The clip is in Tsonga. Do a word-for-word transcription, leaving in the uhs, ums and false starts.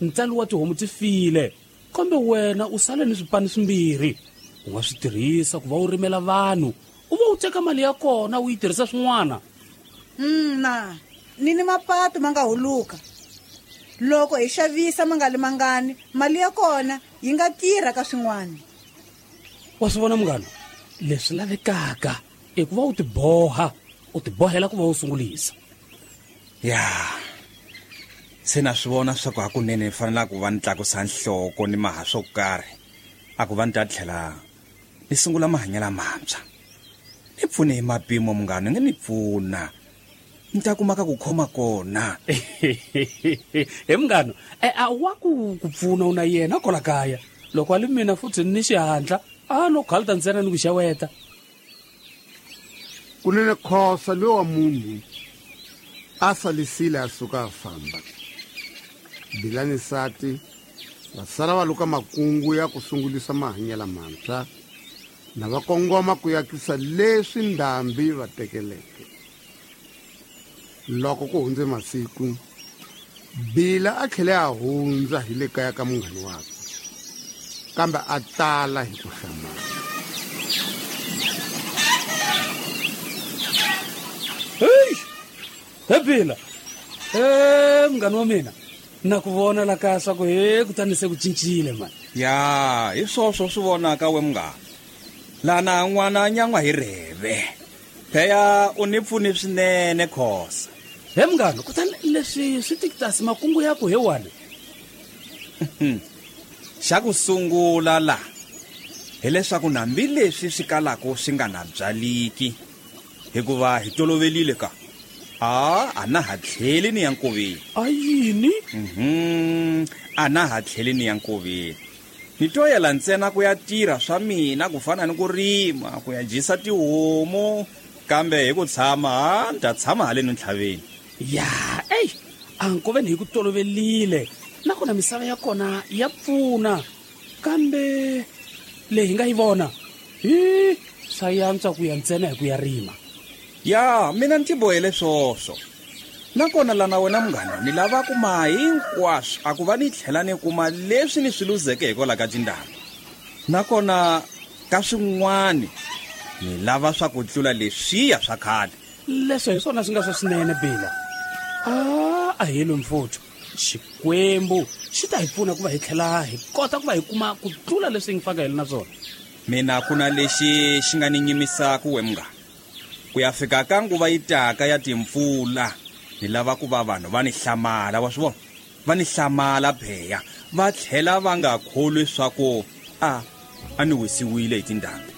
Ntsalo wa tihomu ti file, kambe wena u sale ni swipani swimbirhi. U nga swi tirhisa ku va u rimela vanhu, u va u teka mali ya kona u yi tirhisa swin'wana. Na ni ni mapatu ma nga huluka. Loko hi xavisa ma nga li mangani, mali ya kona yi nga tirha ka swin'wana. Wa swi vona munghana, leswi lavekaka i ku va u tiboha, u tibohela ku va u sungulisa. Ya se na swi vona swa ku hakunene ni fanela ku va ni tlakusa nhloko ni maha swo karhi, a ku va ni ta tlhela ni sungula mahanyelo mantshwa. Ni pfune hi mapimo munghana, nge ni pfuna ni ta kuma ka ku khoma kona. He munghana, e a wa ku ku pfuna u na yena kola kaya. Loko a li mina futhi ni xihatla, a no khalta ntsena ni ku xeweta. Kunene Khosa lowa munhu a salisile a suka a famba. Bila ni nsati va sala va luka makungu ya ku sungulisa mahanyelo mantshwa na va kongoma ku yakisa leswi ndhambi va tekeleke. Loko ku hundze masiku, Bila a tlhele a hundza hi le kaya ka munghana wakwe, kambe a tala hi ku hlamala. Hey! He Bila! He munghana wa mina, na ku vona la kaya swa ku he kutani se ku cincile mani. Ya, hi swoswo swi vonaka we munghana. Lana n'wana nyan'wa hi rheve. Pheya u ni pfuni swinene Khosa. He munghana, kutani leswi swi tikitasi makungu ya ku he wani. Xa ku sungula la hileswaku nambi leswi swi kalaka swi nga na byaliki, hikuva hi tolovelile ka a a na ha tlheli ni ya nkoveni. A yini? Mhm, a na ha tlheli ni ya nkoveni. Ni toyela ntsena ku ya tirha swa mina ku fana ni ku rima, ku ya dyisa tihomu, kambe hi ku tshama ha ni ta tshama haleni ntlhaveni. Ya, ey, a nkoveni hi ku tolovelile, nakona misava ya kona ya pfuna, kambe leyi hi nga yi vona hi swa yantswa ku ya ntsena hi ku ya rima. Ya, mina ni tibohele swoswo. Nakona lana wena munghana ni lava kuma hinkwaswo, a ku va ni tlhela ni kuma leswi ni swi luzeke hikwalaho ka tindhambi. Nakona ka swin'wani ni lava swa ku tlula leswiya swa khale. Leswo hi swona swi nga swa swinene Bila. A a helo mfuthu, Xikwembu xi ta hi pfuna ku va hi tlhela hi kota ku va hi kuma ku tlula leswi hi nga faka hi na swona. Mina ku na lexi xi nga ni nyimisaka we munghana. Ku ya fika ka nguva yi taka ya timpfula, ni lava ku va vanhu va ni hlamala, wa swi vona? Va ni hlamala pheya, va tlhela va nga kholwi swa ku a a ni wisiwile hi tindhambi.